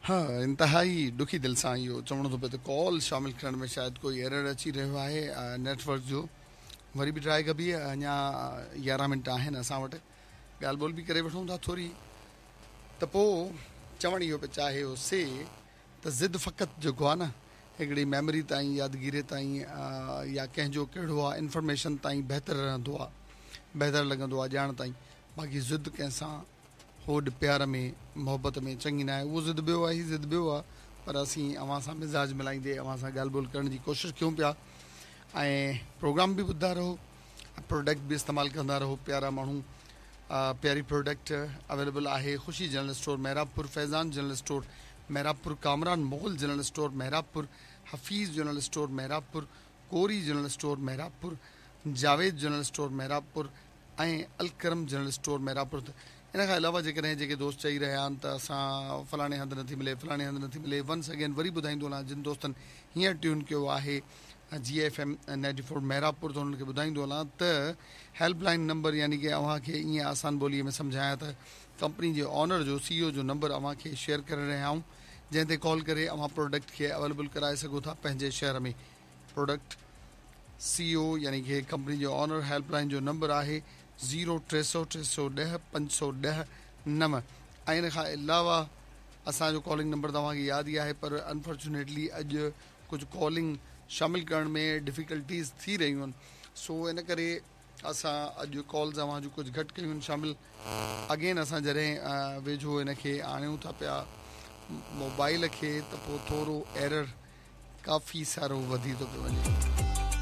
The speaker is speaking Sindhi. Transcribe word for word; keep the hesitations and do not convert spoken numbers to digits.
ها، انتهائي ڏکي دل سان اهو چوڻو ٿو پئي ته ڪال شامل ڪرڻ ۾ شايد ڪوئي ايرر اچي رهيو آهي نيٽ ورڪ جو. وري به ٽرائي ڪبي. اڃا يارهن منٽ آهن اسان وٽ، ڳالهه ٻولهه به ڪري وٺون ٿا ٿوري. ته پوء چوڻ اهو پيو چاهي هو سي ته ضد فقط جيڪو آهي نه، هڪڙي ميموري تائين، يادگيري تائين يا ڪنهن جو ڪهڙو آهي انفارميشن تائين بهتر رهندو آهي، بهتر لڳندو آهي ڄاڻ تائين. باقي ضد ڪنهن سان هوڏ پيار ۾ محبت ۾ چڱي نه آهي. اهو ضد ٻيو آهي، هي ضد ٻيو آهي، پر اسين اوهان سان مزاج ملائيندي اوهان سان ڳالهه ٻولهه ڪرڻ جي ڪوشش ڪيون پيا ۽ پروگرام به ٻڌندا رهو، پروڊڪٽ به استعمال ڪندا رهو. پيارا ماڻهو، پياري پروڊڪٽ اويليبل آهي Khushi general store Mehrabpur, Faizan general store Mehrabpur, Kamran Mughal general store Mehrabpur, Hafeez general store Mehrabpur, Kori general store Mehrabpur, Javed general store Mehrabpur ۽ Alkaram general store Mehrabpur. ان کان علاوه جيڪڏهن جيڪي دوست چئي رهيا آهن ته اسان فلاڻي هنڌ نٿي ملي، فلاڻي هنڌ نٿي ملي، ونس اگين وري ٻڌائيندو هلان، جن دوستن هينئر ٽيون ڪيو آهي جي F M ninety four Mehrabpur, ته انهن کي ٻڌائيندو هلان ته هيلپ لائن نمبر، يعني ڪه اوهان کي ائين آسان ٻوليءَ ۾ سمجهايان ته ڪمپني جي آنر جو، سي او جو نمبر اوهان کي شيئر ڪري رهيا آهيون، جنهن تي ڪال ڪري اوهان پروڊڪٽ کي اويليبل ڪرائي سگهو ٿا پنهنجي شهر ۾ پروڊڪٽ. سي او يعني ڪه ڪمپني جو آنر، هيلپ لائن جو نمبر آهي زيرو ٽي سؤ ٽي سؤ ڏهه پنج سؤ ڏهه نو. ۽ ان کان علاوه اسان جو ڪالنگ نمبر توهان کي ياد ئي آهي، پر انفارچونيٽلي اڄ ڪجهه ڪالنگ شامل ڪرڻ ۾ ڊفيڪلٽيز ٿي رهيون آهن، سو ان ڪري اسان اڄ ڪالز اوهان جون ڪجهه گهٽ ڪيون آهن شامل. اگين اسان جڏهن ويجهو ان کي آڻيون ٿا پيا موبائل کي، ته پوءِ ٿورو ايرر ڪافي سارو وڌي ٿو پيو وڃي.